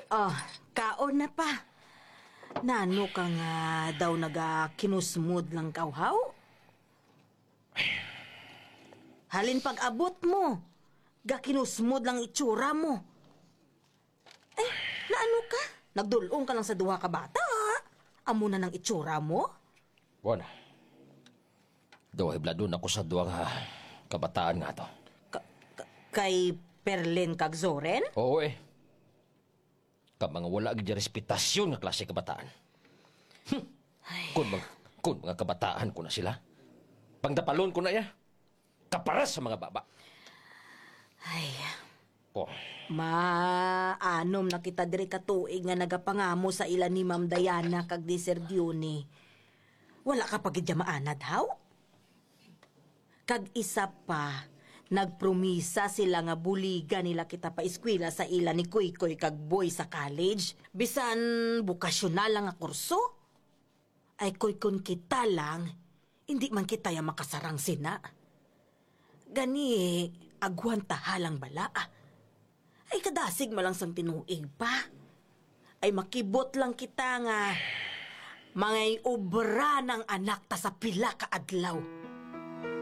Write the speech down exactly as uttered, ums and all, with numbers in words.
Ah, kaon na pa. Nano ka nga daw nagakinusmod lang kawhaw? Halin pag-abot mo, gakinusmod lang itsura mo. Eh, naano ka? Nagdul-ong ka lang sa duha ka bata, ha? Amo na nang itsura mo? Kuwan, daw hibladon ako sa duha nga kabataan nga to. Ka- ka- kay Perlin kag Zoren? Oo eh. Ka mga wala gid respetasyon nga klase kabataan. Hmm. Ay. Kung mag, kung mga kabataan ko na sila, pangdapalon ko na ya. Kaparas sa mga baba. Ay. Oh. Maanom na kita diri ka tuig nga nagapangamo sa ila ni Ma'am Diana kag ni Sir Diony. Wala ka pa gid dya maanad, haw? Kag isa pa, nagpromisa sila nga buligan nila kita pa eskwela sa ila ni Koykoy kag Boy sa college, bisan bokasyonal lang nga kurso. Ay, koy, kon kita lang, hindi man kita ya makasarang sina. Gani, agwantaha lang bala. Ay, kadasig mo lang sang tinuig pa. Ay, makibot lang kita nga mangay obra ng anak ta sa pila ka adlaw.